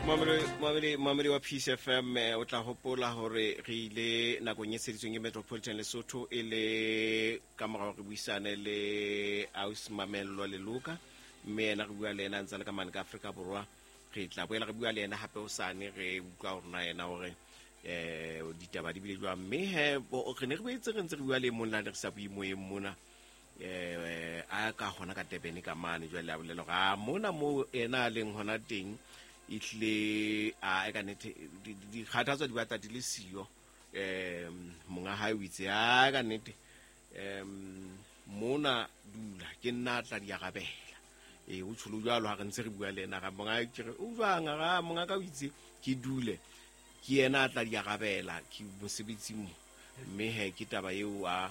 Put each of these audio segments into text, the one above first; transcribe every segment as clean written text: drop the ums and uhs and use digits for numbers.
Momamedi wa Peace FM, o tla hopola hore re ile nakong e tsheditsweng ke Metropolitan Lesotho e le ka mora hore re buisane le Aus Mamello Leloka, mme yena re bua le yena a ntse a le ka mane ka Afrika Borwa. Re tla boela re bua le yena hape hosane, re utlwa hore na yena hore ditaba di bile jwang. Mme he, re ne re boetse re ntse re bua le e mong la ne re sa bue moyeng mona, a ka hona ka Durban ka mane. Jwale a bolela hore a mona moo yena a leng hona teng ehlile a e ka nnete dikgathatso di batla di le siyo. Monga hae o itse a ka nnete mona dula ke nna a tla di arabela. O tsholo jwalo ha re ntse re bua le yena, ga monga ke re o jwang, ga monga ka o itse ke dule ke yena a tla di arabela ke mosebetsi mo. Mme he ke taba eo a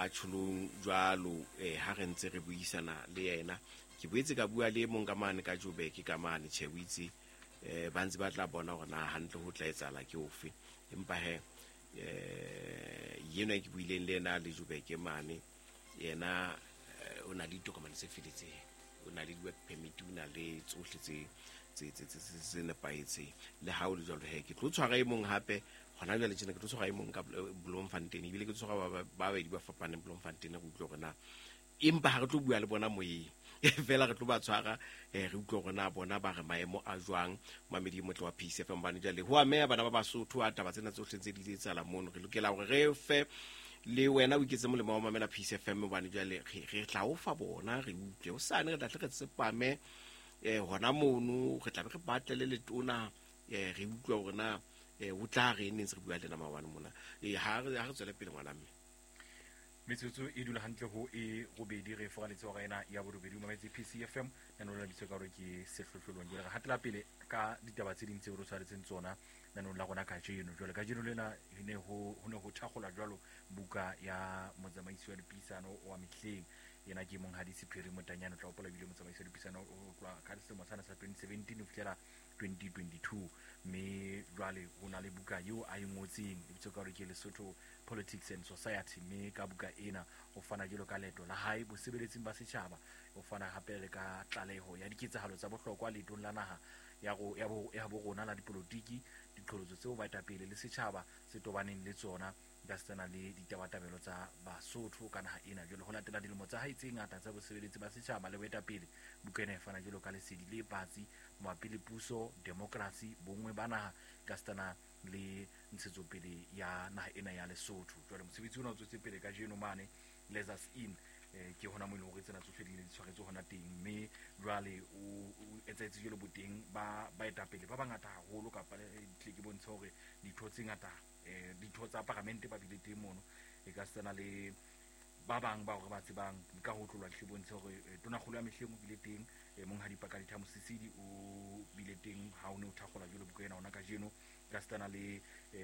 tsholong jwalo ha re ntse re buisana le yena. Ke boetse ka bua le mong ka mane ka Joburg ka mane, tjhe o itse ba ntse ba tla bona hore na hantle ho tla etsahala ke ofe. Empa he yena ke buileng le yena le Joburg mane, yena o na le ditokomane tse feletseng, o na le di-work permit, o na le tsohle tse nepahetseng. Le ha o le jwalo he ke tlo tshwara e mong hape hona jwale tjena, ke tlo tshwara e mong ka Bloemfontein, ebile ke tlo tshwara ba babedi ba fapaneng Bloemfontein, re utlwe hore na empa ha re tlo bua le bona moyeng fela re tlo ba tshwara, re utlwe hore na bona ba re maemo a jwang. Mamedi motle wa Peace FM, bane jwale ho ameha bana ba Basotho a taba tsena tsohle tse di etsahala mono. Re lokela hore re fe le wena o iketse molemo wa mamela Peace FM, hobane jwale re tla o fa bona re utlwe hosane, re tla tle re tsepame hona mono, re tla be re batle le letona, re utlwe hore na o tla re neng se re bua le ena maobane mona. Ha re tswele pele ngwana mme. Metsotso e dula hantle ho e robedi, re foraletse hora ena ya borobedi. O mametse PCFM, nanong la bitso ka hore ke sehlohlolong. Jwale re hatela pele ka ditaba tse ding tseo re tshwaretseng tsona nanong la rona kajeno. Jwale kajeno lena ho ne ho thakgolwa jwalo buka ya motsamaisi wa dipuisano wa mehleng, yena ke Monghadi Sephiri Motanyane. O tla hopola ebile motsamaisi wa dipuisano o tloha ka selemo sana sa 2017 ho fihlela 2022. Mme jwale ho na le buka eo a e ngotseng e bitswa ka hore ke Lesotho Politics and Society. Mme ka buka ena o fana jwalo ka leeto la hae bosebeletsing ba setjhaba, o fana hape le ka tlaleho ya diketsahalo tsa bohlokwa leetong la naha ya bo rona la dipolotiki, diqholotso tseo baetapele le setjhaba se tobaneng le tsona, ka setsana le ditabatabelo tsa Basotho ka naha ena. Jwale ho latela dilemo tsa hae tse ngata tsa bosebeletsi ba setjhaba le boetapele, buka ena e fana jwalo ka lesedi le batsi mabapi le puso, demokrasi, bonngwe ba naha, ka setsana le ntshetsopele ya naha ena ya Lesotho. Jwale mosebetsi ona o tswetse pele kajeno mane Leisures Inn, ke hona moo e leng hore tsena tsohle di ne di tshwaretswe hona teng. Mme jwale o etsahetse jwalo boteng ba baetapele ba bangata haholo, kapa tle ke bontshe hore ditho tse ngata, ditho tsa paramente ba bile teng mono, e ka setsana le ba bang ba hore ba tsebang ka ho tlolwa hle bontshe hore tonakgolo ya mehleng o bile teng, Monghadi Pakalitha Mosisili o bile teng ha o ne o thakgola jwalo buka ena hona kajeno, ka setsana le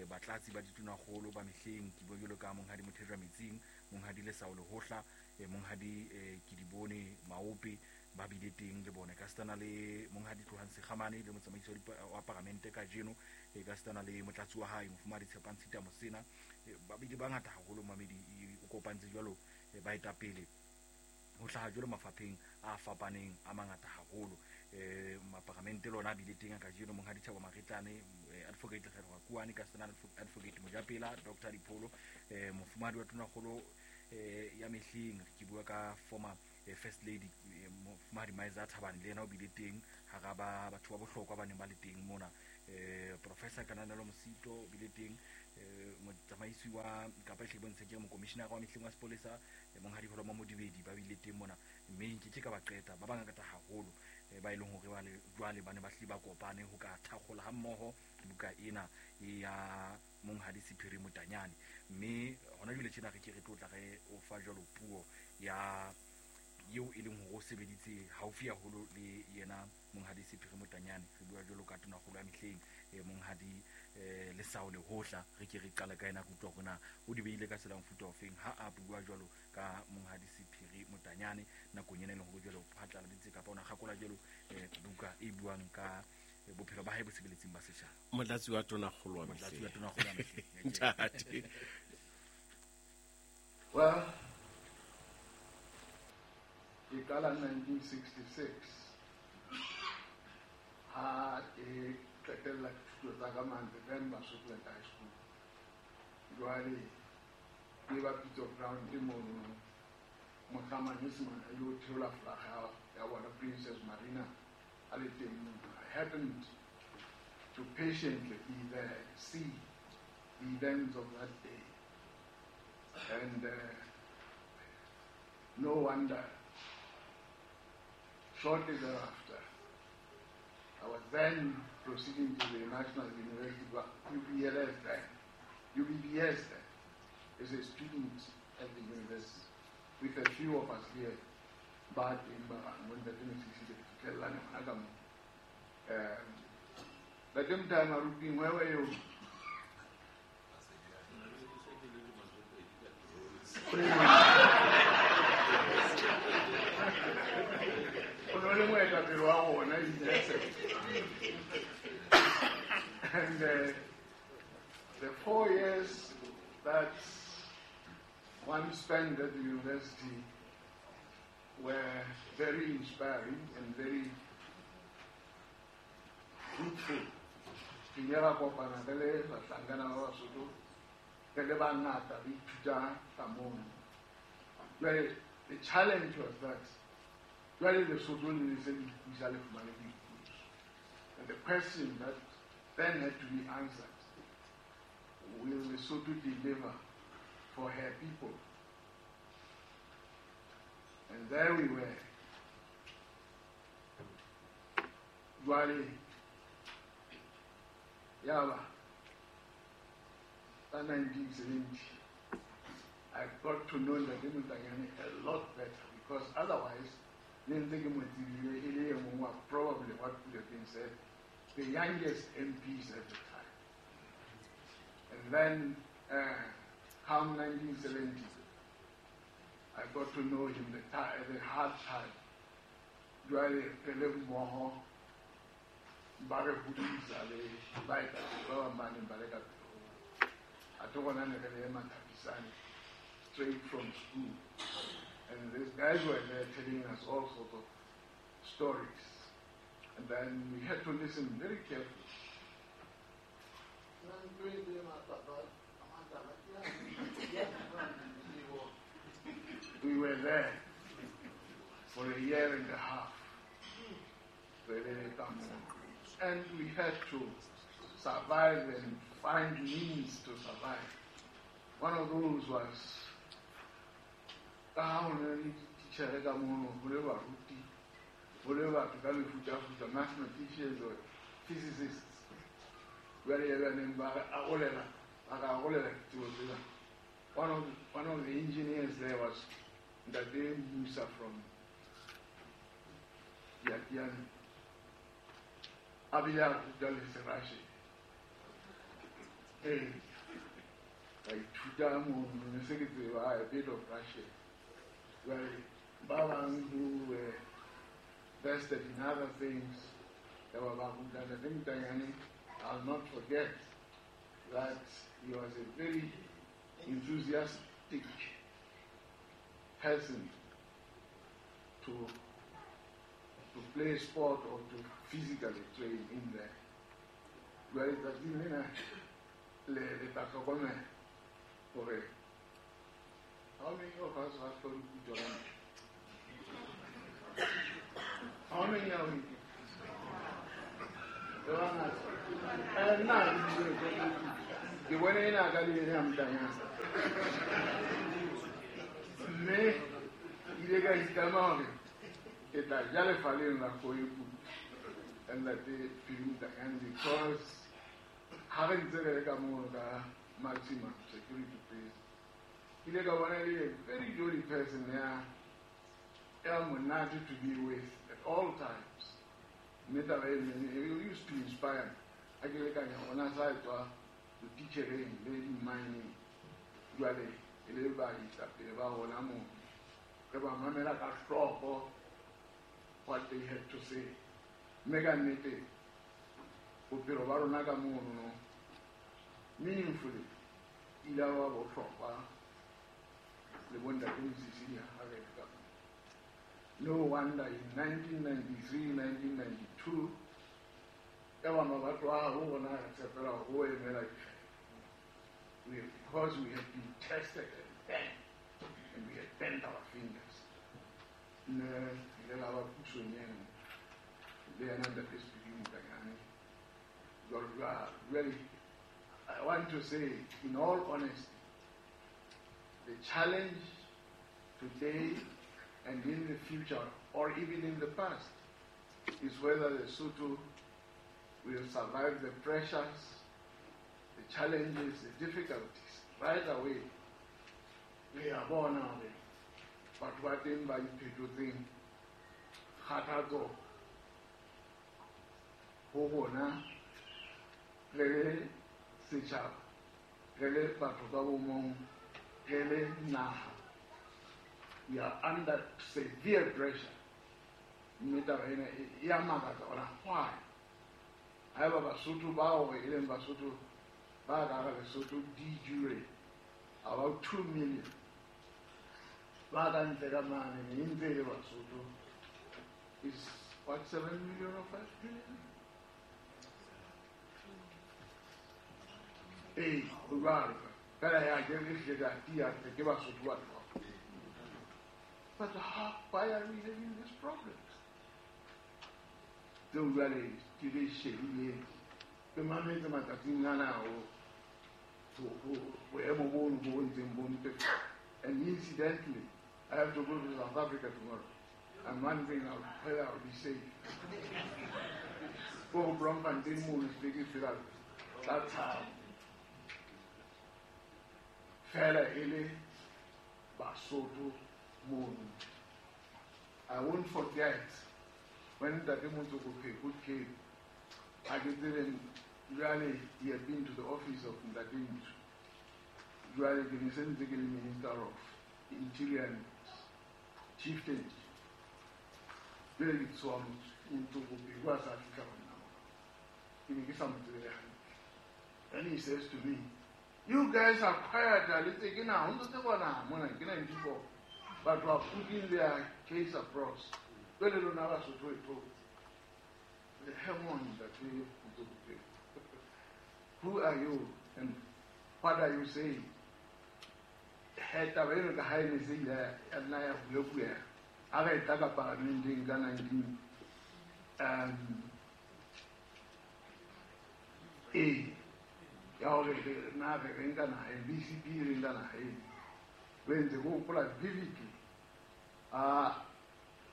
batlatsi ba ditonakgolo ba mehleng, ke bua jwalo ka Monghadi Mothejwa Metsing, Monghadi Lesao Lehohla, Monghadi Kedibone Maope ba bile teng le bona, ka setsana le Monghadi Tlohang Sekgamane le motsamaisi wa paramente kajeno, ka setsana le motlatsi wa hae Mofumahadi Tshepang Tshita Mosena, ba bile bangata haholo. Mamedi o kopantse jwalo baetapele ho hlaha jwalo mafapheng a fapaneng a mangata haholo. Maparamente lona a bile teng kajeno, Monghadi Thabo Maretlane, Advocate Lekgetho Rakuane, ka setsana Advocate Mojapela, Dr. Dipholo, Mofumahadi wa Tonakgolo ya mehleng, ke bua ka former First Lady Mofumahadi Maiza Thabane, le yena o bile teng hara ba batho ba bohlokwa ba neng ba le teng mona. Professor Kananelo Mosito o bile teng, motsamaisi wa kapa ehle bontshe ke mokomishinara wa mehleng wa sepolesa, Monghadi Holomo Modibedi ba bile teng mona. Mme nke ke ka ba qeta ba bangata haholo, ba e leng hore ba le jwale ba ne ba hlile ba kopane ho ka thakgola ha mmoho buka ena ya Monghadi Sephiri Motanyane. Mme hona jwale tjena re ke re tlo tla re o fa jwalo puo ya eo e leng hore o sebeditse haufi haholo le yena Monghadi Sephiri Motanyane. Re bua jwalo ka tonakgolo ya mehleng, Monghadi Lesao Lehohla. Re ke re qale ka yena, re utlwa hore na o di beile ka tsela mofuta ofeng ha a bua jwalo ka Monghadi Sephiri Motanyane nakong ena e leng hore jwalo o phatlaladitse kapa o na kgakola jwalo buka e buang ka bophelo ba hae bosebeletsing ba setjhaba. Motlatsi wa tonakgolo wa Motlatsi wa mehleng. tonakgolo wa mehleng. Ntate. Well, ke qala 1966 ha ke dithuto tsa ka mane then Basotho High School. Jwale ke ba Pitso Ground mono mohla manyesemane a ilo theola flaga ya bona Princess Marina a le teng mono. I happened to patiently be there, see the events of that day. And no wonder, shortly thereafter, I was then proceeding to the National University, UBLS then, UBBS then, as a student at the university, with a few of us here, but in the same time, where were you? And the 4 years that one spent at the university were very inspiring and very fruitful. The challenge was that and the question that then had to be answered, will Lesotho deliver for her people? And there we were. Jwale, yaba, 1970, I got to know Ntate Motanyane a lot better, because otherwise, probably what could have been said, the youngest MPs at the time. And then, come 1970, I got to know him the hard time. Jwale, re le mmoho, ba re hodisa le baetapele ba bang ba neng ba le ka pele ho rona. A tlo bona ne re le Mathapisane, straight from school. And these guys were there telling us all sorts of stories. And then we had to listen very carefully. We were there for a year and a half. And we had to survive and find means to survive. One of those was mathematicians or physicists. One of the engineers there was Ntate Musa from Diatiane. A bile a ruta le Serashe. Ee, ka ithuta mono, ne se ke tseba a bit of Russian. Jwale ba bang who were vested in other things, ya ba ba ruta. Ntate Motanyane, I'll not forget that he was a very enthusiastic person to play sport or to physically train in there. Jwale tsatsing lena le tla hlokomela hore how many of us have got good? How many are we? Nna ke bone ena ka le ena Motanyane. Mme ile ka itlama hore ke tla ja lefa leno la kgoepu ka Ntate Phiri Motanyane, because ha re ntse re le ka mono ka maximum security prison, ile ka bona e le a very jolly person ya monate to be with at all times. Mme taba e used to inspire me. Ha ke lekanya ona sa tswa botitjhereng le di-mining, jwale e le baetapele ba rona mono, re ba mamela ka hloko what they had to say. Mme ka nnete bophelo ba rona ka mono meaningfully ile ba bohlokwa le bo Ntate Mosisili ha re le ka mono. No wonder in 1993, 1992, Ya ba mabato a habo rona re tshepela hore o emela dikgetho. Because we have been tested and bent, and we have bent our fingers. Ne ile la ba pusong eno le yena Ntate Sephiri Motanyane. Jwalo jwalo. Really, I want to say, in all honesty, the challenge today and in the future, or even in the past, is whether the Lesotho will survive the pressures, the challenges, the difficulties. Right away, re a bona hore batho ba teng ba iphetotseng kgathatso ho rona re le setjhaba, re le batho ka bo mong, re le naha. We are under severe pressure. Mme taba ena e a makatsa hore why? Haeba Basotho bao e leng Basotho ba ka hara Lesotho de jure about 2 million ba ka ntle ka mane e ntse e le Basotho is what, 7 million or 5 million? Ee, ho jwalo. Fela ya ke re hlile ka tiya ke Basotho ba tloha. But how, why are we having these problems? Tseo jwale ke di shebileng. Ke mametse matsatsing ana ho boemo bono bo ntseng bo mpefala. And incidentally, I have to go to South Africa tomorrow. I'm wondering whether I'll be safe. Go Bloemfontein mono se ke fela tla tshaba. Fela e le Basotho mono. I won't forget when Ntate Motsoko Pheko came, I ke tsebe jwale he had been to the office of Ntate Ntsu. Jwale ke ne se ntse ke le Minister of Interior and Chieftaincy. Jwale ke tswa Motsoko Pheko a sa fihla ho nna mona. Ke ne ke sa mo tsebe hantle. Then he says to me, you guys are quiet, le tse ke na, ho ntse tsebwa naha mona, ke 94. But are putting their case across. Jwale lona Basotho e tlo. Hang on, Ntate Motsoko Pheko. Who are you and what are you saying? He taba eno ka ha e ne se ile ya nna ya buebueha. Ha re tla ka paramenteng ka 19 ee ya hore na re re nka naha e, BCP re nka naha eno. Re ntse ke hopola vividly a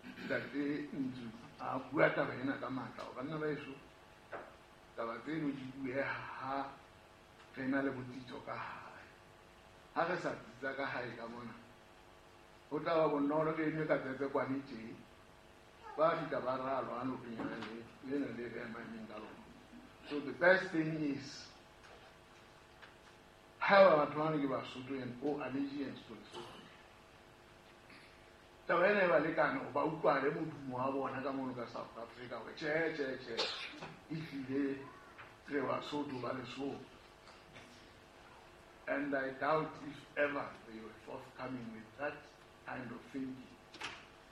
Ntate Ntsu a bua taba ena ka matla hore banna ba heso taba tseno di bueha ha re na le botsitso ka hae. Ha re sa tsitsa ka hae ka mona, ho tla ba bonolo re enwe ka tsebe kwane tje. Ba fihla ba ralwa nokeng ya lena le re emang ka lona. So the best thing is haeba batho bana ke Basotho and owe allegiance to Lesotho. Taba ena e ba lekane hore ba utlwale modumo wa bona ka mono ka South Africa hore tjhe tjhe tjhe ehlile re Basotho ba Lesotho. And I doubt if ever they were forthcoming with that kind of thinking.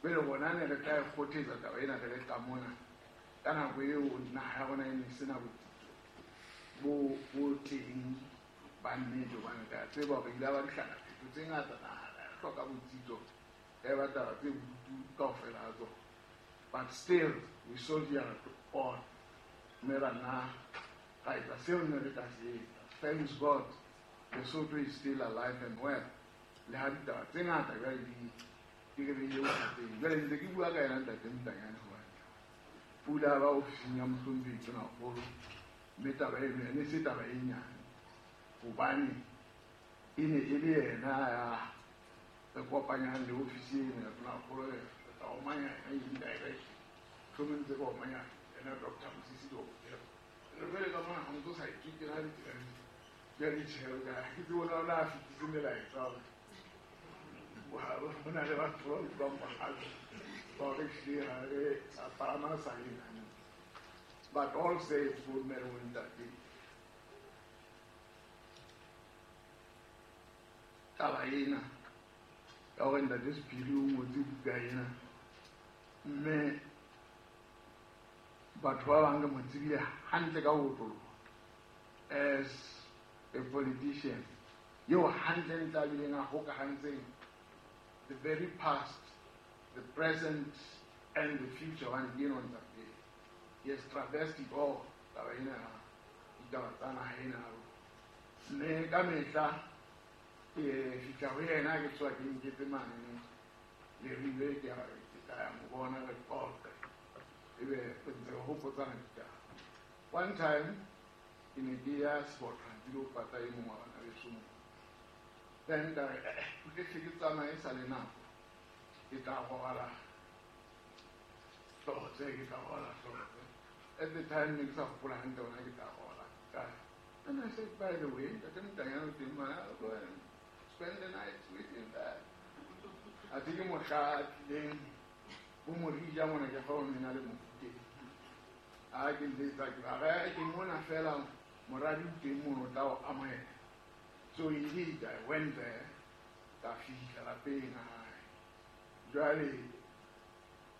Jwale rona ne re tla e kgothetsa taba ena re le ka mona. Ka nako eo naha ya rona e ne sena botsitso bo teng ba nnete hobane re a tseba hore ile ba dihlakaphetho tse ngata naha ya hloka botsitso ya ba taba tse bodutu kaofela ha tsona. But still, we soldiered on. Mme ra nna ra etsa seo ne re ka se etsa. Thanks God, Lesotho is still alive and well. Le ha ditaba tse ngata jwale di re beile bothateng. Jwale ntse ke bua ka yena Ntate Motanyane hobane pula ba ofising ya mohlomphehi Tonakgolo, mme taba eno e ne se taba e nyane hobane e ne e le yena ya re kopanyang le ofisi eno ya Tonakgolo, re tla omanya yena indirectly. Mohlomong ntse ke omanya yena Dr. Mosisi kaofela. Re jwale ka mona ha ntso sa itswe ke na ditsela jwale tjhe, ke tsebe ona o na fetise melaetsa hore ho na le batho ba utlwang bohale ba hore ehlile ha re a palama sa eng hantle. But all said, bo mme le bo ntate, taba ena ya hore Ntate Sephiri o ngotse buka ena, mme Batho ba bang re mo tsebile hantle ka ho otloloha as a politician eo hantlentle a bileng a hokahantseng the very past, the present and the future hobane ke eno ntsa pele. He has traversed it all taba ena ya ditaba tsa naha ena ya rona. Mme ka mehla ke fihla ho yena ke tswa ke nketse mane Leribe ke ke tla ya mo bona re qoqe ebe re ntse re hopotsana ditaba. One time ke ne ke ya Sebotha ke lo pata e mong wa bana beso moo. Then ka re ke hle ke tsamaye sa le nako ke tla robala Hlotse, ke tla robala Hlotse. At the time ne ke sa hopola hantle hore na ke tla robala kae. And I said, by the way, Ntate Motanyane o teng mane, I'll go and spend the night with him there. Athe ke mohla a tlileng bo Morija mona ke fa o nena le Mofokeng. A ke nletsa ke ba re ke mona fela moradi o teng mono o tla o amohela. So indeed I went there, ka fihla lapeng hae. Jwale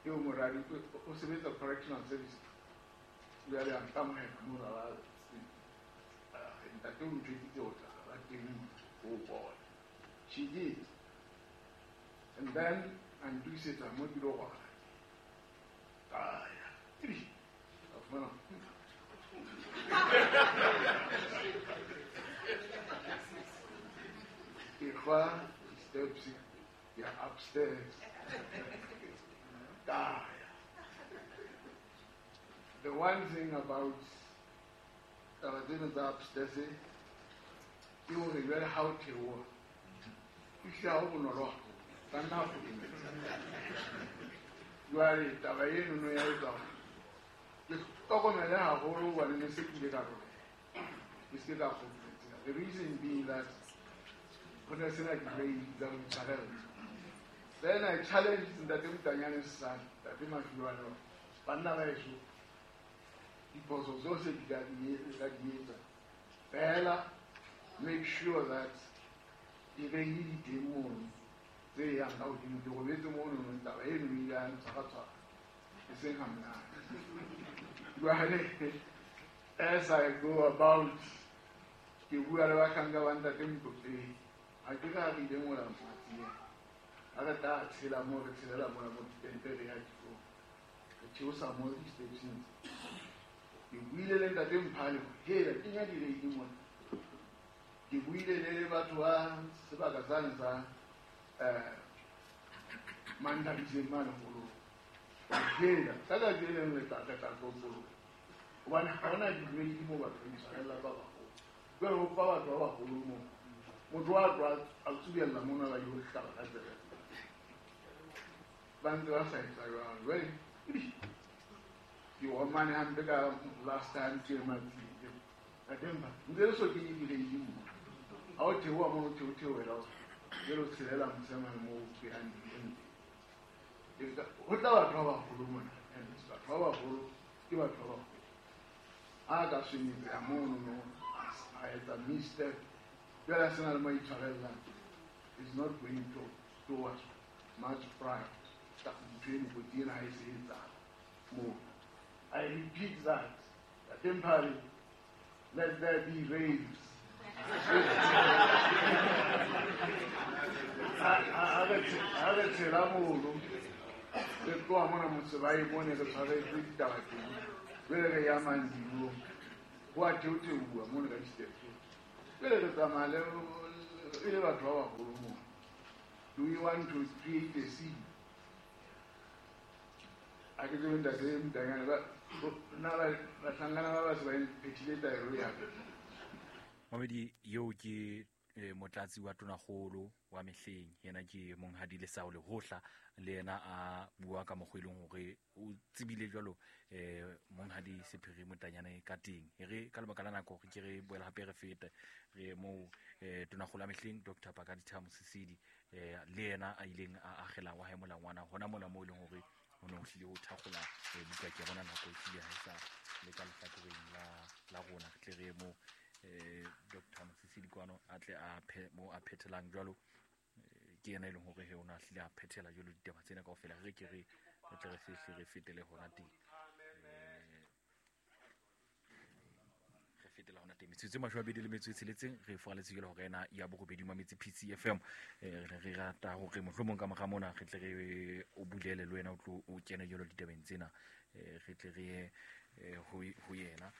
eo moradi o sebetsa correctional service. Jwale a nkamohela mona ba ntate o ntjwetsitse o tla ba teng o bona. She did. And then a ntokisetsa mo ke lo robala. Ka ya. Ka fumana. Ke kgwa steps ya upstairs. Ka ya. The one thing about taba tsena tsa upstairs ke hore jwale ha o theoha, ehlile ha ho bonolo haholo. Ka nna kgotsometsa. Jwale taba enono ya etsa hore ke hlokomele haholo hobane ne se ke ile ka robeha. Ke se ke ka kgotsometseha. The reason being that ho ne sena di-rail tsa ho itshwarella. Then I challenged Ntate Motanyane son, Ntate Mafiwane hore banna ba heso diphoso tsohle di ka di etsa. Fela make sure that di-rail di teng mono tse yang ka hodimo. Ke robetse mono taba eno e ile ya ntshwaratshwara e seng ha monate. Jwale as I go about ke bua le bahlanka ba Ntate Motlotleng, ha ke re ha re ile mola Matsieng, ha re tla tshela moo re tshelela mona mo ditente re ya dikolong, re theosa mo di-stepseng tse. Ke buile le Ntate Mphale hore hela kenya di-rail mona. Ke buile le batho ba sebaka sane sa Manthabiseng mane holong. Hela ka tsatsi le leng re tla tlokoloha hobane ha hona di-rail moo batho ba itshwarella ba baholo. Jwale ho fa batho ba baholo moo, motho wa tloha a tsubella mona ba yo hlaba ka tsebe. Ba ntse ba sa etsa jwalo. Jwale ke omane hampe ka last time ke Matsieng. Ntate Mpha, ntse le so kenye di-rail moo. Ha o theoha mono, o theohela jwale o tshelela mosemane moo behind the. Ho tla batho ba baholo mona. And batho ba baholo ke batho ba baholo. A ka swenyetseha mono no, a etsa misstep. Jwale a sena le mo itshwarellang. Is not going to towards much pride. Ntho eno kotsi ena ha e se etsahala moo. I repeat that. Ntate Mphale, let there be rails. Ha re tshela mono, re tloha mona Motsebae mone re tshwaretswe ditaba teng. Jwale re ya Mandilong, ho a theotheuwa mono ka di-steps. Jwale re tsamaya le e le batho ba baholo mona. Do we want to create a scene? Ha ke tsebe Ntate Motanyane nna bahlankana ba ba se ba phethile taelo ya ka. Mamedi eo ke motlatsi wa tonakgolo wa mehleng, yena ke Monghadi Lesao Lehohla, le yena a bua ka mokgwa e leng hore o tsebile jwalo Monghadi Sephiri Motanyane ka teng. E re ka lebaka la nako re ke re boela hape re fete re moo tonakgolo ya mehleng Dr. Pakalitha Mosisili le yena a ileng a akgela wa hae molangwana hona mona moo e leng hore ho ne ho hlile ho thakgola buka. Ke bona nako e hlile ha e sa le ka lehlakoreng la rona. Re tle re moo Dr. Mosisili kwano a tle a mo a phethelang jwalo. Ke yena e leng hore he o na hlile a phethela jwalo ditaba tsena kaofela. Re ke re tle re sehle re fetele hona teng. Teng metsotso e 26 re foraletse jalo hore ena ya borobedi mametse PCFM. Re re rata hore mohlomong ka mora mona re tle re o bulele le wena o tlo o kene jalo ditabeng tsena, re tle re ye ho yena,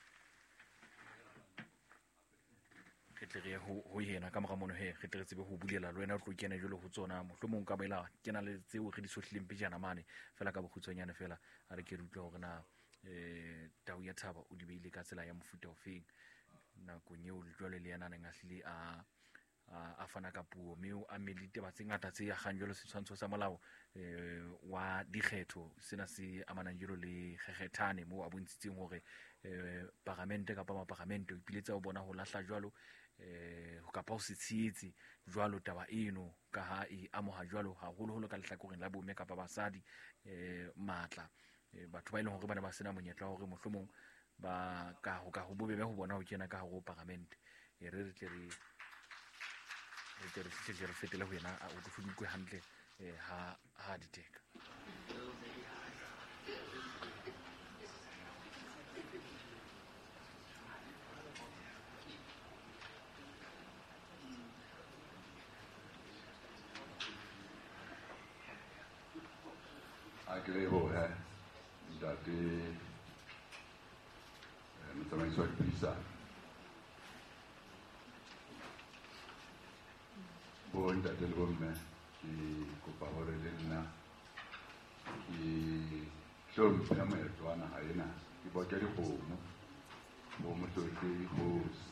re tle re ye ho yena ka mora mono he re tle re tsebe ho bulela le wena o tlo kena jalo ho tsona. Mohlomong ka boela kena le tseo re di sohlileng pejana mane fela ka bokgutshwanyane fela a re ke re utlwe hore na Tau ya Thaba o di beile ka tsela ya mofuta ofeng nakong eo jwale le yena a neng a hlile a fana ka puo, mme o amme le ditaba tse ngata tse akgang jwalo setshwantsho sa molao wa dikgetho sena se amanang jwalo le kgekgethane, moo a bontshitseng hore paramente kapa maparamente o ipiletsa ho bona ho lahla jwalo kapa ho se tshehetse jwalo taba eno ka ha e amoha jwalo haholoholo ka lehlakoreng la bomme kapa basadi matla, batho ba e leng hore ba ne ba sena monyetla wa hore mohlomong ba ka ho ka ho bobebe ho bona ho kena ka hare ho paramente. E re tle re re re fetele ho yena o tlo utlwe hantle ha di teka. A ke lebohe ntate motsamaisi wa dipuisano, bo ntate le bomme, ke kopa hore le nna ke hlomphe moetlo wa naha ena, ke boke dikgomo bo motlotlehi kgosi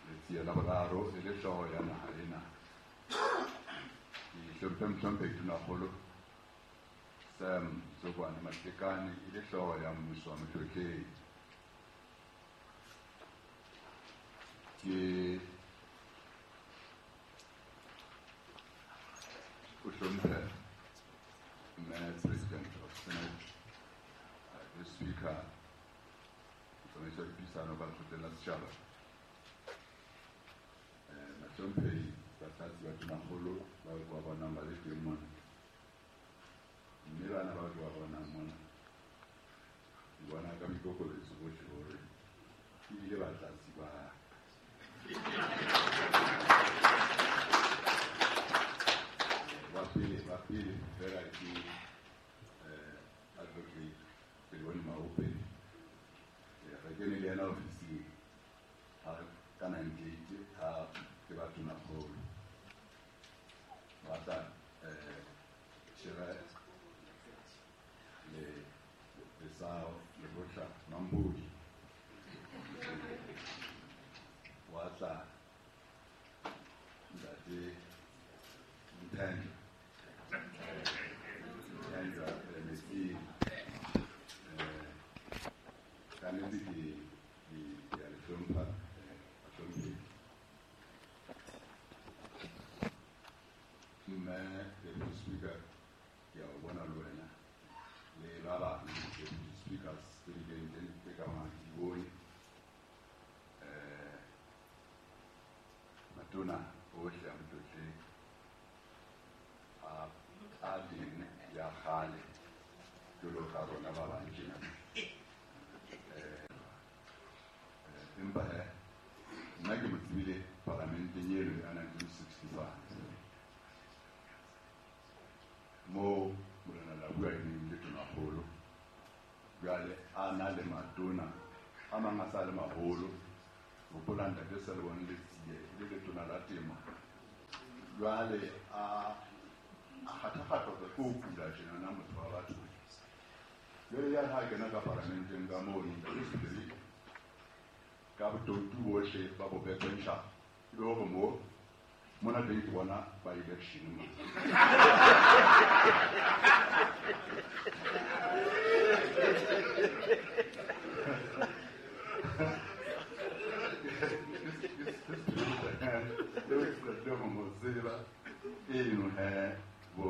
Letsie la boraro e le hlooho ya naha ena. Ke hlomphe mohlomphehi Tonakgolo Sam Tsokwane Matekane e le hlooho ya mmuso wa motlotlehi. Ke o hlomphe mme President of Senate, le Speaker, motsamaisi wa dipuisano ka lekgotleng la setjhaba, bahlomphehi batlatsi ba Tonakgolo bao ke ba bonang ba le teng mona, mme bana bao ke ba bonang mona ke bona ka boikokobetso bohle hore ebile batlatsi ba pele fela ke Advocate Pelibone Maope. Re kene le yena ofising ka 98 ha ke ba Tonakgolo, ba tla Shera le Lesao le Botla Mambodi, wa tla ntate Nthenjwa Metsi. Ka nnete ke a le hlompha bahlomphehi. Mme Deputy Speaker, ke a o bona le wena le ba bang deputy speakers tse di leng teng tse ka bang di bone, matona ohle a motlotlehi a teng ya kgale jwalo ka rona ba bang tjena. Empa he nna ke mo tsebile paramenteng eno ya 1965 moo Morena Labua e neng le Tonakgolo, jwale a na le matona a mang a sa le maholo. Hopola ntate Selebone Letsie e le letona la temo, jwale a kgatha-kgathwa ke ho kula tjenana motho wa batho. Jwale ya ha kena ka paramenteng ka mono ntate Sebele ka botoutu bohle ba bo bekwentsha, e be hore mo mona teng ke bona ba election mo. Eno he bo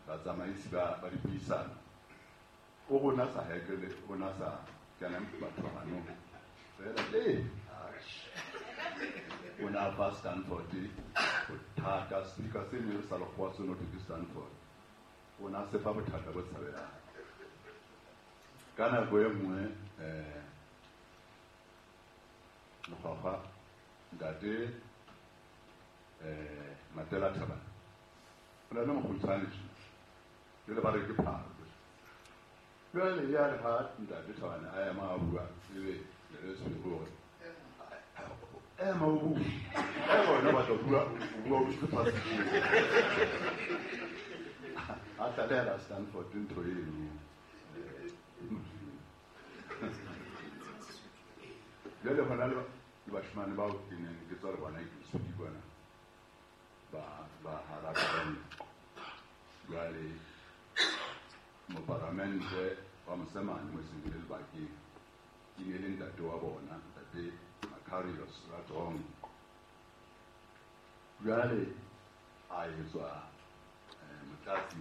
batsamaisi ba dipuisano o rona sa hekele, o na sa kenang batho ba hanong fela le o na fa Stanford bothata, speaker se ne sa lekgowa seno ke Stanford, o na se fa bothata bo tshabelang. Ka nako e nngwe Lekgwakgwa ntate Matela Thabane o na le mokgutshwane tjena jwale ba re ke phalo. Jwale ya re ha ntate Thabane a ema a bua ebe le se hore ema o bue e bona ba tla bua o bua o se fatshe a tlalehela Stanford ntho eno. Jwale hona le bashimane bao ke neng ke tswa le bona ke sudi bona ba hara jwale moparamente wa mosemane mo seng le lebakeng ke ne le ntate wa bona ntate Macarius Ratong. Jwale a etswa motlatsi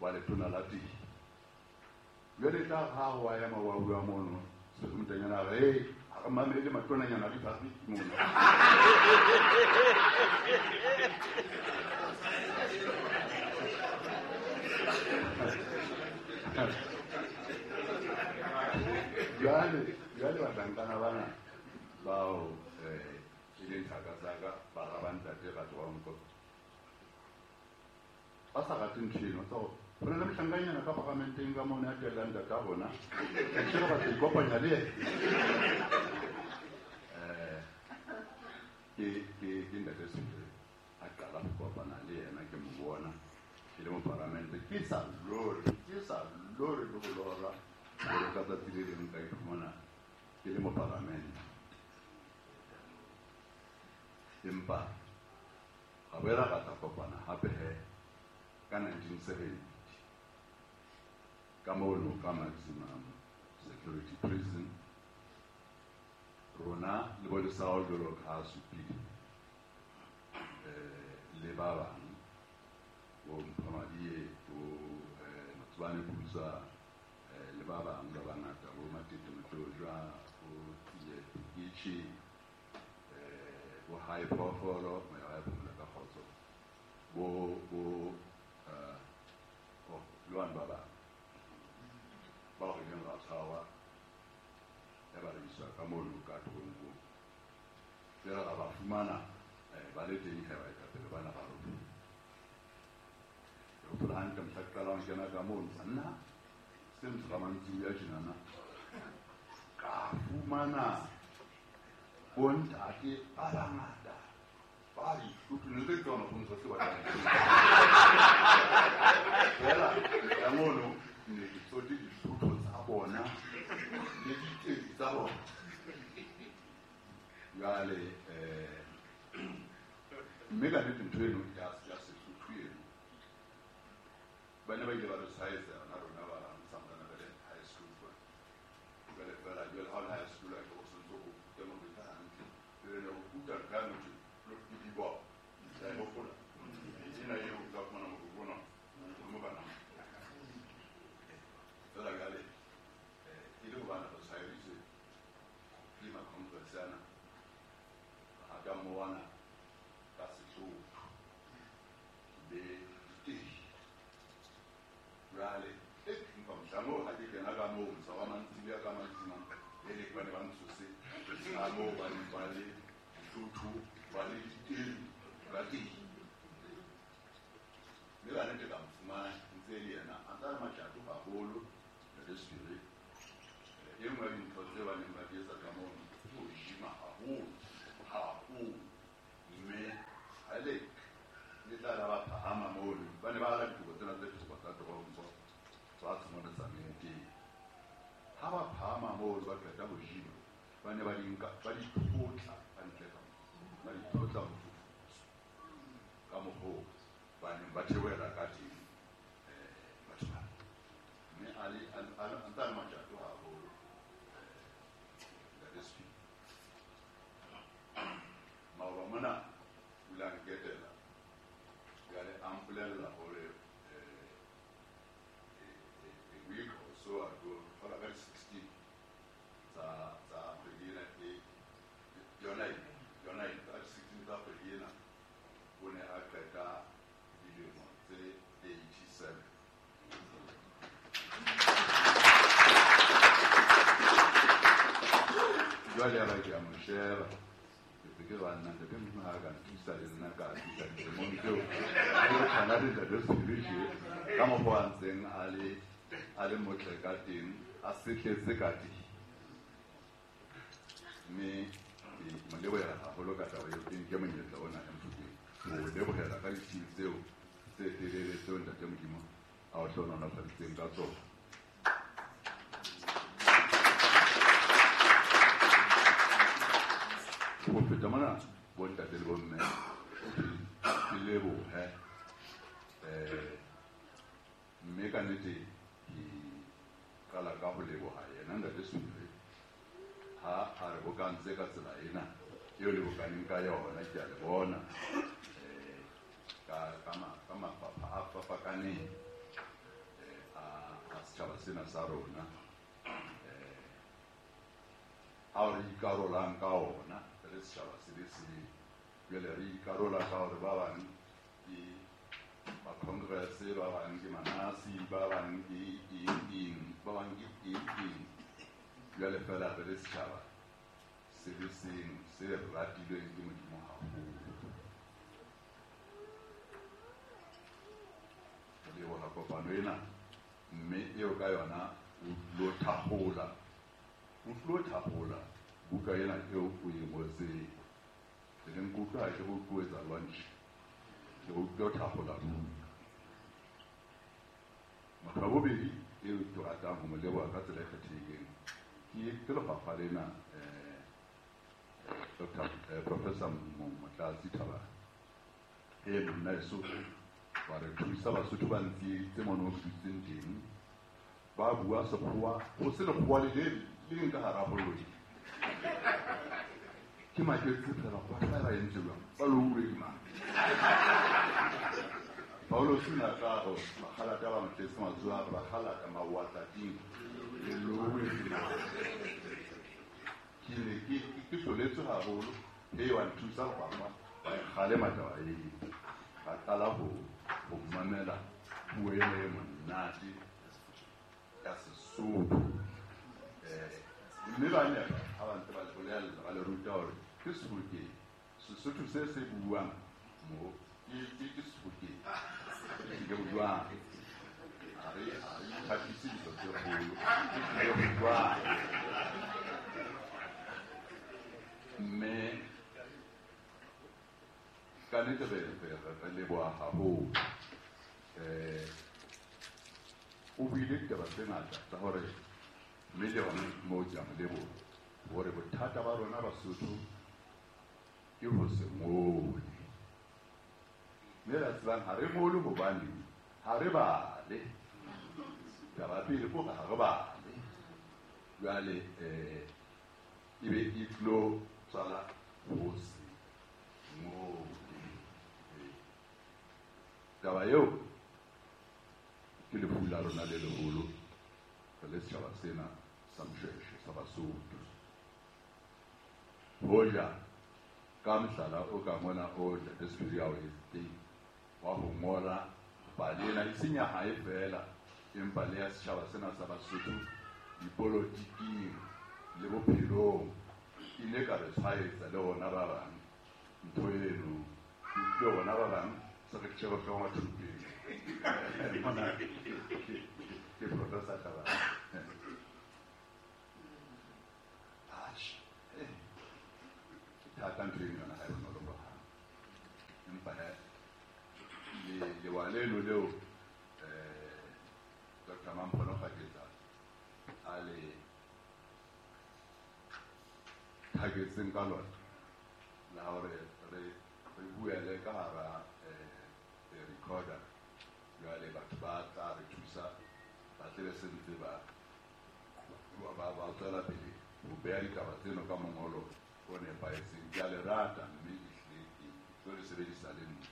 wa letona la teng. Jwale tla ha wa ema wa bua mono sekumtanyana re ha re mamele matonanyana di fariki mono. Jwale bahlankana bana bao e leng thaka tsa ka bara ba ntate Ratronko ba sa rate ntho eno tsa hore ho na le mohlankanyana ka paramenteng ka mona a tellang ntata rona ke re batla ikopanya le yena. Ke ntate Sefiri a qala ho kopana le yena ke mo bona ke le moparamente ke sa lore le ho lora hore ka tsatsi le leng ka iphumana ke le moparamente. Empa ra boela ra tla kopana hape he ka 1970 ka mono ka maximum security prison rona le bo Lesao jwalo ka supile le ba bang bo Mphamadie bo Matsobane Pusa le ba bang ba bangata bo Matete Motlojwa bo Tsie Pikichi bo Hae Phoofolo moya wa phomola ka kgotso bo le bana ba bang bao re ileng ra tshwarwa ya ba re iswa ka mono ka toronkong. Jwale ra ba fumana ba le teng he baetapele bana ba rona. Ke hopola hantle mohla ke qalang ho kena ka mono banna se ntsho ka mantsiboya tjenana ka fumana bontate ba bangata ba dihlotho ne tse tsona ho ntse se batlang. Fela ya mono ne ke tsote dihlotho tsa bona le diteki tsa bona. Jwale mme ka nnete ntho eno ya Sesotho eno ba ne ba ile ba re tshwaetsa yona rona ba bang santsane re le high school kwana. Jwale fela jwale ha o le high school a ke o santse o ruta mo ruta hantle. Jwale ne o ruta ka motho ke di-bop la e hopola ena eo o tla fumana motho ona o mo bana. Fela jwale e le hobane re tshwaeditswe ke ma-congress ana a ka mowana ka Sesotho le diteki. Jwale empa mohlang oo ha ke kena ka moo mosa wa mantsiboya ka maximum e le ba ne ba ntshose ka moo ba ne ba le dihlotho ba le ditelu ba teng. Mme ka nnete ka mo fumana ntse e le yena a ntsa le matjato haholo ntate Sefiri. E nngwe ya dintho tse ba neng ba di etsa ka mono ke ho gym-a haholo haholo. Mme haele le tla la ba phahama mono ba ne ba ala dikobo tsena tse thoko tsa toronko tsa tshimone tsa teng. Ha ba phahama mono ba qeta ho gym-a ba ne ba di nka ba di tlotla hantle ka ba di tlotla mofufutso ka mokgwa oo ba neng ba theohela ka teng batho bana. Mme a le a ntsa le matjato haholo ntate Sefiri. Maoba mona o ile a nketela jwale a mpolella hore a week or so ago hola ka di-16 tsa kgwedi ena e yona ena ka di-16 tsa kgwedi ena o ne a qeta dilemo tse 80. Jwale ya ba ke a mo sheba. Ke ke ba nna ntate Modimo ha ka nthusa le nna ka thusa dilemong tseo. Ke tshwana le ntate Sephiri tje, ka mokgwa a ntseng a le motle ka teng, a setletse ka teng. Mme ke mo lebohela haholo ka taba eo, ke nke monyetla ona e mfukeng ho lebohela ka ditshiu tseo tse telele tseo ntate Modimo a o hlohonolofaditseng ka tsona. Ho feta mona, bontate le bomme, ke lebohe. Mme ka nnete ke qala ka ho leboha yena ntate Sephiri ha a re bokantse ka tsela ena eo le bokaneng ka yona. Ke a le bona ka mafapha a fapakaneng a setjhaba sena sa rona, ao re ikarolang ka ona re le setjhaba se le seng. Jwale re ikarola ka hore ba bang ke ba Congress, ba bang ke Manasi, ba bang ke eng eng, ba bang ke eng eng. Jwale fela re le setjhaba se le seng se ratilweng ke Modimo haholo. Re leboha kopano ena, mme eo ka yona o tlo thakgola, o tlo thakgola buka ena eo o e ngotseng. E leng ke utlwa ha ke go etsa lunch, ke go tlo thakgola buka. Motho wa bobedi eo ke ratang ho mo leboha ka tsela e kgethehileng ke lefapha lena, Dr. Professor Motlatsi Thabane. E monna eso wa re thusa Basotho ba ntsieditse mono ho dutseng teng, ba bua sekgowa, ho se lekgowa le le leng ka hara koloi. Ke maketse fela batho ba entse jwang, ba louwe ke mang. Paulo Suna ka re bakgalata ba motletse matsoho a re bakgalata maoatlating le louwe ke mang. Ke ne ke hloletswe haholo, he wa nthusa lefapha wa e kgalema taba eo. Ka qala ho mamela puo ena e monate ya Sesotho. Mme ba nepa ha ba ntse ba le bolella, ba le ruta hore ke Sebokeng, Sesotho se se buang mo ke Sebokeng, ke jwang. Ha re ithapise dintho tse kgolo, ke jwang. Mme ka nnete re leboha haholo. O buile ditaba tse ngata tsa hore, mme le yona moo ke a mo leboha, hore bothata ba rona Basotho ke ho se ngole. Mme ra tsebang ha re ngole hobane ha re bale. Taba pele ke hore ha re bale. Jwale e be e tlo tswala ho se ngole. Taba eo ke lefu la rona le leholo re le setjhaba sena sa Moshoeshoe sa Basotho. Hoja ka mohlala o ka mona o ntate Sephiri a o etseng wa ho ngola pale ena, e seng ya hae fela, empa le ya setjhaba sena sa Basotho dipolotiking le bophelong, e ile ka re tshwaetsa le rona ba bang ntho eno. Ke utlwile rona ba bang se re tjhebe hlooho thupeng. Mona ke Professor Thabane. Atjhe, ke thata ntho eno yona ha e bonolo hohang. Empa he, lewa leno leo Dr. Mamphono Kgaketsa a le thaketseng ka lona la hore re buele ka hara recorder, jwale batho ba tla re thusa ba tle se ntse ba tswela pele ho beha ditaba tseno ka mongolo o nepahetseng. Ke a le rata mme ehlile ke tlo le sebedisa le nna.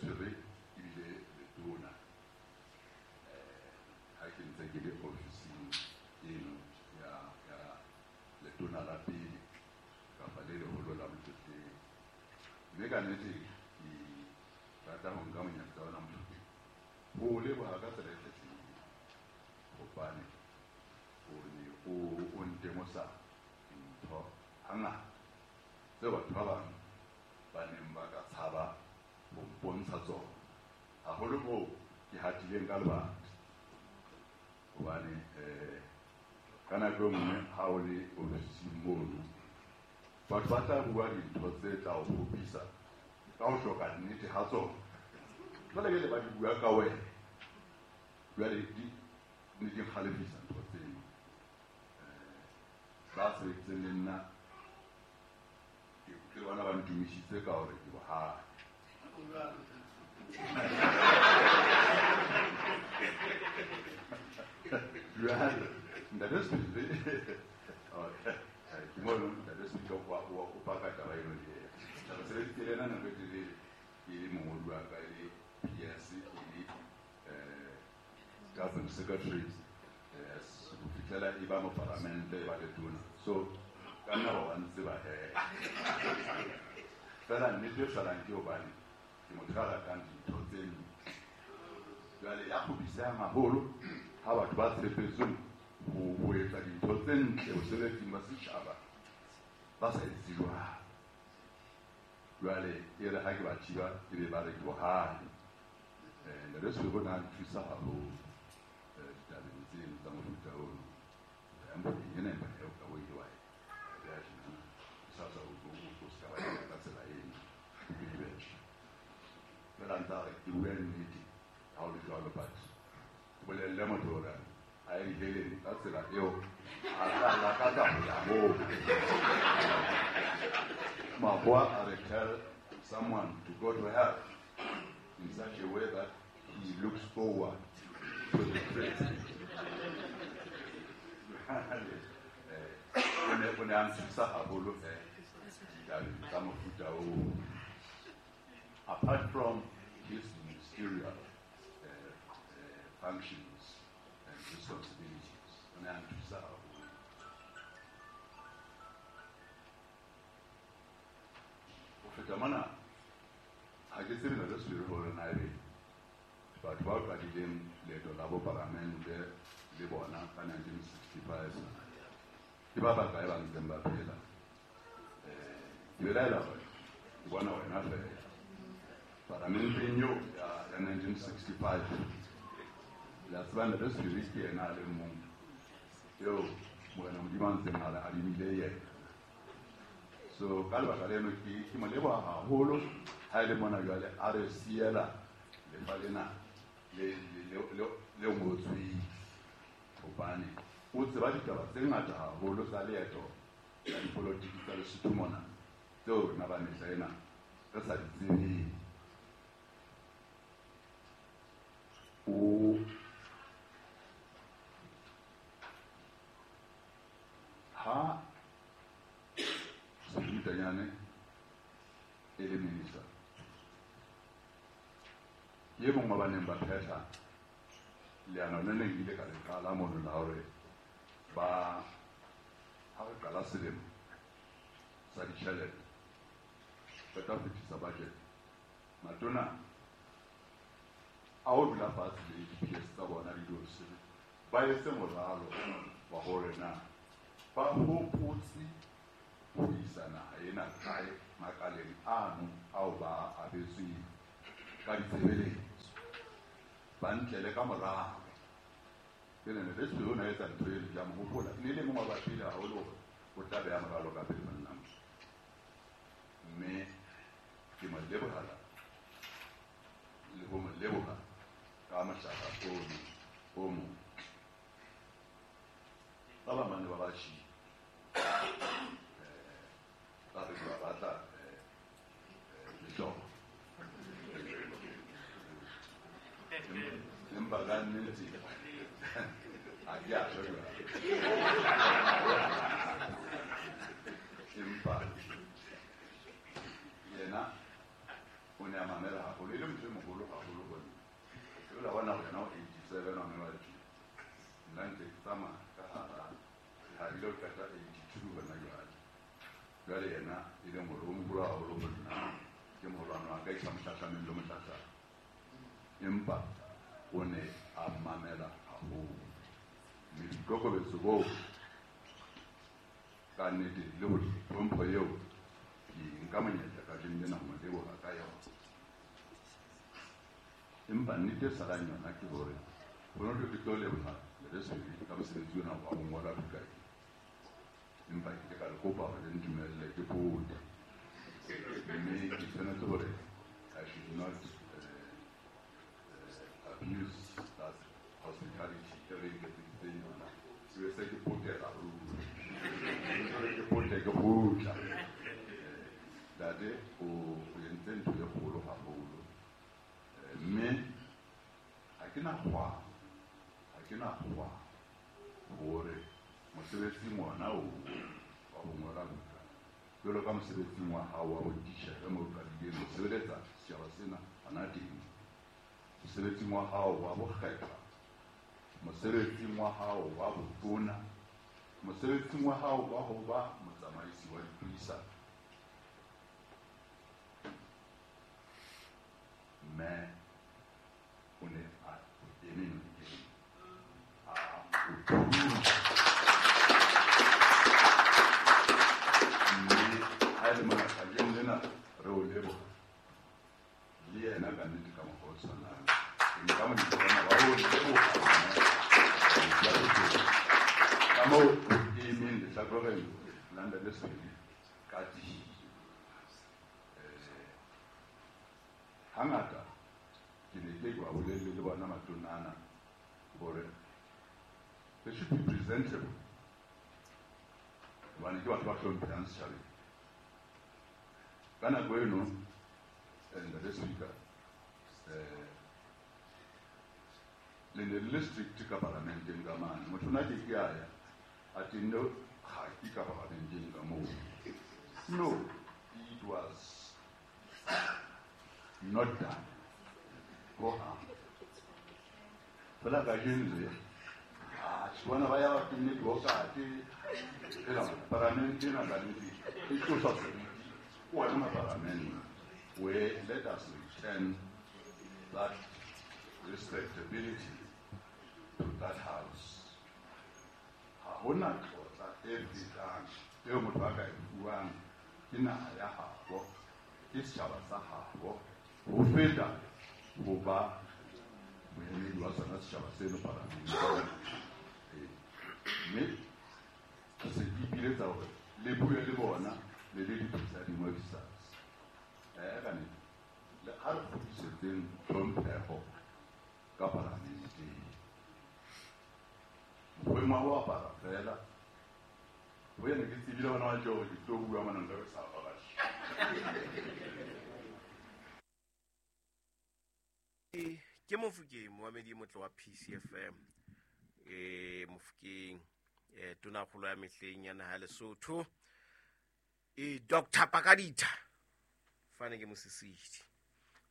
Re ebile letona ha ke ntse ke le ofising eno ya letona la pele kapa le leholo la Motlotleng. Mme ka nnete ke rata ho nka monyetla ona Mofokeng ho o leboha ka tsela e kgethehileng, hobane o ne o ntemosa dintho hangata tseo batho ba bang ba neng ba ka tshaba ho mpontsha tsona, haholo moo ke hatileng ka lebati. Hobane ka nako e nngwe ha o le ofising mono, batho ba tla bua dintho tse tla o kgopisa ka ho hloka nnete ha tsona. Jwale jwale ba di bua ka wena, jwale di ne di kgalefisa ntho tseno. Ba sebeditseng le nna ke bona ba ntumisitse ka hore ke bohale. Jwale ntate Sephiri, ke mono ntate Sephiri o paka taba eno le yena. Re sebeditse le ena nako e telele, ke le mongodi wa ka, e le PS, e le government secretary, ho fihlela e ba mopalamente, e ba letona. So ka nna ba ntse ba hee. Fela nnete e salang ke hobane ke motho a ratang dintho tse ntle. Jwale ya kgopisehang haholo ha batho ba tshepetsweng ho etsa dintho tse ntle bosebetsing ba setjhaba ba sa etse jwalo. Jwale e re ha ke ba thiba e be ba re ke bohale. Ntate Sephiri o ne a nthusa haholo ditabeng tseno tsa mofuta ono. Mofokeng ena empa eo ka bo ile wa e beha tjenana, o sa tswa o se ka wa e ka tsela eno, o ke di behe. Fela ntse a re ke bue nnete ha o le jwalo, but ke bolelle motho hore a ye diheleng ka tsela eo a tla lakatsa ho ya moo. Makgowa a re tell someone to go to hell in such a way that he looks forward to the present. O ne a nthusa haholo ditabeng tsa mofuta oo. Apart from his ministerial functions and responsibilities, o ne a nthusa haholo. Ho feta mona, ha ke tsebe ntate Sephiri hore na ebe batho ba qadileng leeto la bopalamente le bona ka 1965 ke ba bakae ba ntseng ba phela. Ke belaela hore ke bona wena fela palamenteng eo ya 1965. Le a tseba ntate Sephiri ke yena a le mong eo Morena Modimo a ntseng a re adimile yena. So ka lebaka leno ke mo leboha haholo ha e le mona jwale a re siela lefa lena le ngotsweng, hobane o tseba ditaba tse ngata haholo tsa leeto la dipolotiki tsa Lesotho mona tseo rona ba mehla ena re sa di tsebeng. O ha Sephiri Motanyane e le minister, ke e mong wa ba neng ba phetha leano le neng ile ka le qala mono la hore ba ha re qala selemo sa ditjhelete re tla fetisa budget, matona a ho dula fatshe le di-PS tsa bona le diofisiri ba etse moralo wa hore na ba hopotse ho isa naha ena kae makaleng ano ao ba abetsweng ka ditshebeletso, ba ntlele ka moralo. Ke ne ntate Sephiri o ne a etsa ntho eno, ke a mo hopola, e ne le mong wa ba pele haholo hore o tla beha moralo ka pele monna. Mme ke mo lebohala le ho mo leboha ka mohlala ono o motle. Ba bang ba ne ba ba tjhii, ba re ba batla mehlolo. Empa ka nnete ha ke a tjho jwalo. Empa yena o ne a mamela haholo, e le motho e moholo haholo ho nna. Ke la bona hore yena o 87 hona jwale tje. Nna ntse ke tsamaya ka hara ha ile ho qeta 82 hona jwale. Jwale yena e leng hore o moholo haholo ho nna, Ke moholwane wa ka e sa mohlahlameng le mohlahlame, empa o ne a mamela haholo. Mme boikokobetso boo ka nnete le ho tlhompho eo ke nka monyetla kajeno lena ho mo leboha ka yona. Empa nnete e salang yona ke hore ho no ke tlo leboha Lesedi ka mosebetsi ona wa ho ngola buka e, empa ke ile ka le kopa hore le ntumelle ke pote, mme ke tshwanetse hore I should not abuse that hospitality e re nketseditseng yona. Ke be se ke potela ruri, ke ke pote ke kgutla. Ntate o entse ntho e kgolo haholo, mme ha ke na kgwa hore mosebetsing ona oo wa ho ngola buka, jwalo ka mosebetsing wa hao wa botitjhere moo o qadileng ho sebeletsa setjhaba sena hona teng, mosebetsing wa hao wa bokgethwa, mosebetsing wa hao wa botona, mosebetsing wa hao wa ho ba motsamaisi wa dipuisano, mme o ne a eme nokeng a o thusa. Mme ha e le mona kajeno lena re o leboha le yena ka nnete ka mokgwa o tshwanang. Ke nka monyetla ona wa ho leboha ka moo o emeng lehlakoreng la Ntate Swele ka tiyo. Hangata ke ne ke ba bolelle le bona matona ana hore they should be presentable, hobane ke batho ba hlomphehang setjhabeng. Ka nako eno, Ntate Speaker, le ne le le strict ka parlamenteng ka mane. Motho ona ke ke a ya a tenne kgaki ka parlamenteng ka moo. No, it was not done. Hohang. Fela kajeno le bona ba ya ba tenne diokate fela parlamente ena ka nnete e tlosa seriti. Wona maparlamente, where let us return that respectability to that house. Ha hona tlotla e fetang eo motho a ka e fuwang ke naha ya habo, ke setjhaba sa habo, ho feta ho ba moemedi wa sona setjhaba seno parlamenteng. Mme ke se ke ipiletsa hore le bue le bona le le di-presiding officers. Ka nnete, le ha re kgutlisetseng tlhompheho ka parlamenteng. Mokgweng wa ho apara fela, ho yena ke tsebile hona wa tje hore ke tlo bua mona nka be sa apara. Ke Mofokeng, moamedi e motle wa PCFM. Mofokeng, tonakgolo ya mehleng ya naha ya Lesotho, Dr. Pakaditha fane ke mosisidi.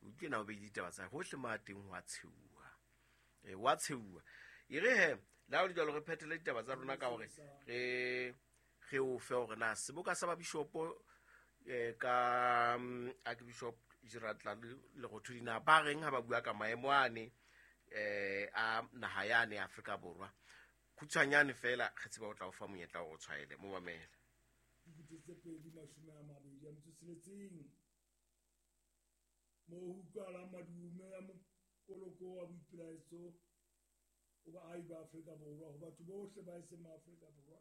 O utlwe na o beile ditaba tsa hohle mo a teng ho a tsheuwa. Wa tsheuwa. E re he, le ha ho le jwalo re phethele ditaba tsa rona ka hore re o fe hore na seboka sa babishopo ka Archbishop Gerard Lerothodi na ba reng ha ba bua ka maemo ane a naha yane Afrika Borwa. Khutshwanyane fela re tseba o tla o fa monyetla o tshwaele mo mamela. 2026 mo ho utlwahalang madume a mokoloko wa boipelaetso ho baahi ba Afrika Borwa, ho batho bohle ba eseng ma Afrika Borwa.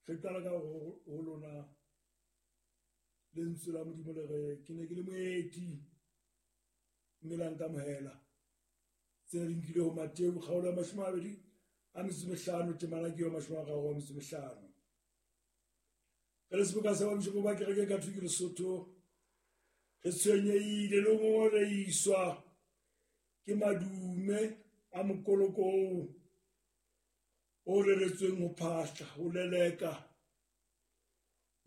Re qala ka ho lona lentswe la Modimo le re ke ne ke le moeti mme la nkamohela. Tsena di nkile ho Mateu kgaolo ya 25 temana ke ya 35. Re le seboka sa babishopo ba kereke Katholike Lesotho, re tshwenyehile le ho ngongorehiswa ke madume a mokoloko oo o reretsweng ho phahla, ho leleka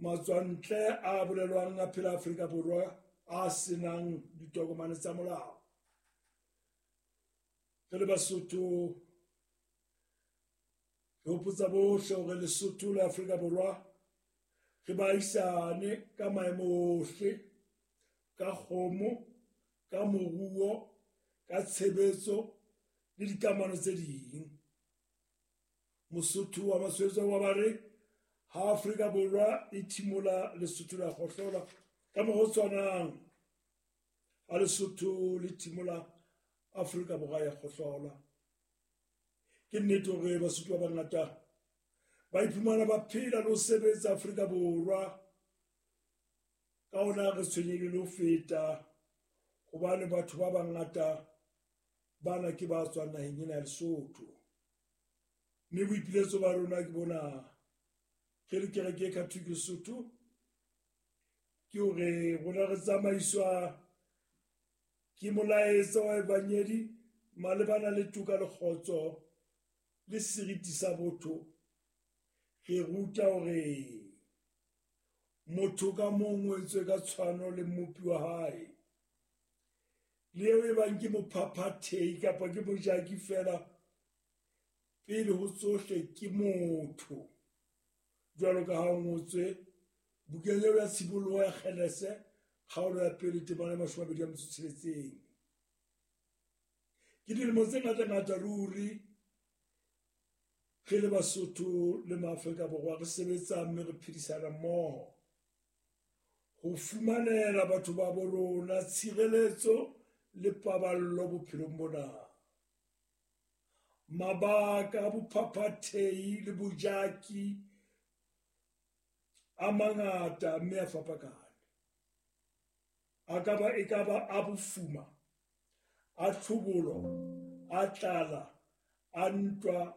matswantle a bolelwang a phela Afrika Borwa a senang ditokomane tsa molao. Re le Basotho re hopotsa bohle hore Lesotho le Afrika Borwa Re baahisane ka maemo ohle, ka kgomo, ka moruo, ka tshebetso le dikamano tse ding. Mosotho wa Maswetso wa ba re ha Afrika Borwa e thimola Lesotho la kgohlola ka mokgwa o tshwanang ha Lesotho le thimola Afrika Borwa ya kgohlola. Ke nnete hore Basotho ba bangata ba iphumana ba phela le ho sebetsa Afrika Borwa. Ka hona re tshwenyehile le ho feta hobane batho ba bangata bana ke ba tswang naheng ena ya Lesotho. Mme boipiletso ba rona ke bona re le kereke e Catholic Lesotho ke hore rona re tsamaiswa ke molaetsa wa evangeli malebana le toka le kgotso le seriti sa botho. Re ruta hore motho ka mong o entswe ka tshwano le mmopi wa hae. Le eo e bang ke mophaphathehi kapa ke mojaki fela, pele ho tsohle ke motho. Jwalo ka ha ho ngotswe bukeng eo ya tshimoloho ya Genese, kgaolo ya pele temana ya 26. Ke dilemo tse ngata-ngata ruri re le Basotho le maAfrika Borwa re sebetsa mme re phedisana mmoho ho fumanela batho ba bo rona tshireletso le paballo bophelong bona. Mabaka a bophaphathehi le bojaki a mangata mme a fapakane. A ka ba e ka ba a bofuma, a tlhobolo, a tlala, a ntwa,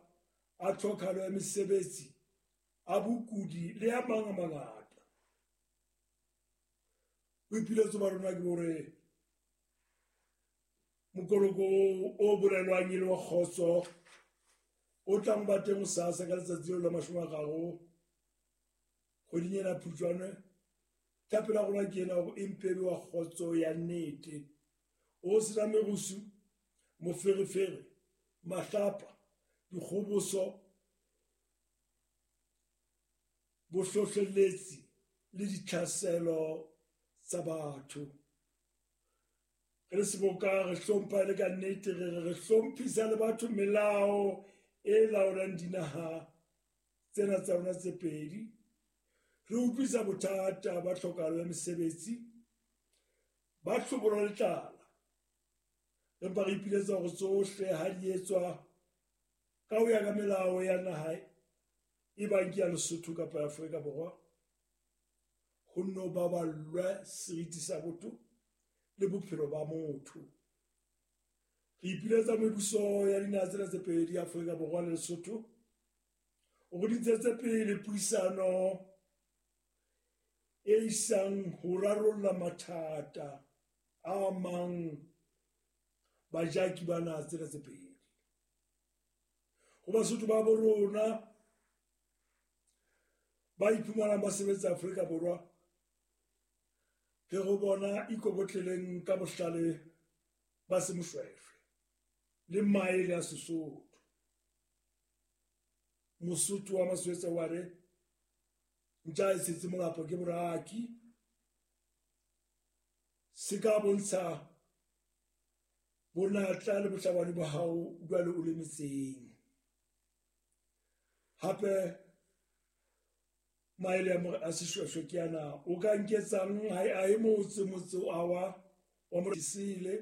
a tlhokahalo ya mesebetsi, a bokudi le a mang a mangata. Boipiletso ba rona ke hore mokoloko o bolelwang e le wa kgotso o tlang ba teng hosasa ka letsatsi leo la 30 kgweding ena Phupjane. Thapelo ya rona ke ena hore e mpe e be wa kgotso ya nnete, o sena merusu, moferefere, mahlapa, dikgoboso, bohlohleletsi le ditlhaselo tsa batho. Re le seboka re hlompha le ka nnete, re re hlomphisa le batho melao e laolang dinaha tsena tsa rona tse pedi. Re utlwisa bothata ba tlhokahalo ya mesebetsi, ba tlhobolo le tlala. Empa re ipiletsa hore tsohle ha di etswa ka ho ya ka melao ya naha e bang ke ya Lesotho kapa ya Afrika Borwa, ho nno baballwe seriti sa botho le bophelo ba motho. Re ipiletsa mebuso ya dinaha tsena tse pedi, Afrika Borwa le Lesotho, hore di ntshetse pele puisano e isang ho rarolla mathata a amang bajaki ba naha tsena tse pedi. Ho Basotho ba bo rona ba iphumanang ba sebetsa Afrika Borwa, re ho bona ikokotleleng ka bohlale ba semoshweshwe le maele a Sesotho. Mosotho wa Maswetsa wa re ntja e setse molapo ke boraki, se ka bontsha bonatla le bohlabani ba hao jwale o le metseng. Hape maele a seshweshwe ke ana, o ka nketsang ha e motse motse wa wa moresile.